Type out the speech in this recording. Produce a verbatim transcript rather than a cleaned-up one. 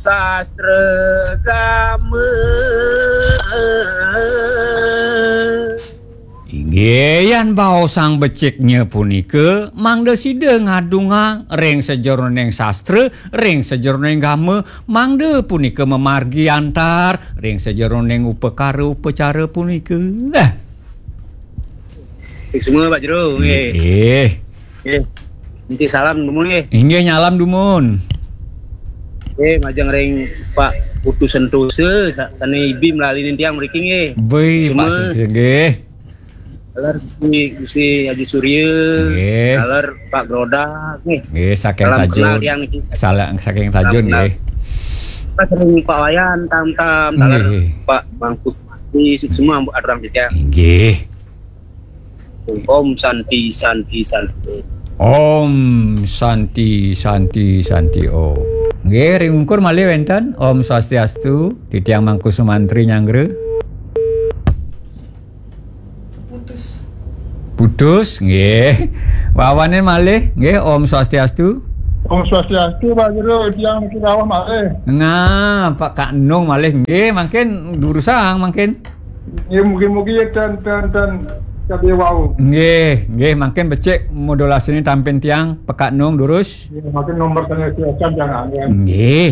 sastra gama. Inggih, yan baosang beciknya punika, mangda sida ngadungang ring sajeroning sastra, ring sajeroning gama, mangda punika mamargi antar ring sajeroning upakara upacara punika. Nah. Suksma, Pak Jero, nggih. Nggih. Nggih. Niki salam dumun, nggih. Inggih, nyalam dumun. Nggih, majeng ring Pak Putu Sentosa, sa-, sane ibi melali tiang mriki, nggih. Bih, Pak Suksma. Sentosa, nggih. Taler Gusti, Gusti Haji Surya, nggih. Taler Pak Groda, nggih. Nggih, saking Salam Tajun. Kenal tiang niki. Salah, saking Salam Tajun, kenal. Nggih. Pas ring Pak Wayan, tam-tam, taler nggih. Pak Bangkus Mati, suksma, aturang titiang. Inggih. Om Santi, Santi, Santi. Om Santi, Santi, Santi, Om. Nggih, ring ungkur malih wenten. Om Swastiastu, titiang Mangku Sumantri nyanggra. Putus. Putus, nggih. Wawanin malih, nggih, Om Swastiastu. Om Swastiastu, Pak Jero, tiang niki rawuh malih. Nah, Pak Kak Nung malih, nggih, mangkin durusang, mangkin. Nggih, mugi-mugi ten, ten, ten, kadi wau. Nggih, nggih, mangkin becik modulasine tampin tiang, Pak Kak Nung durus. Nggih, mangkin nomor sane siasan jangan, ya. Nggih.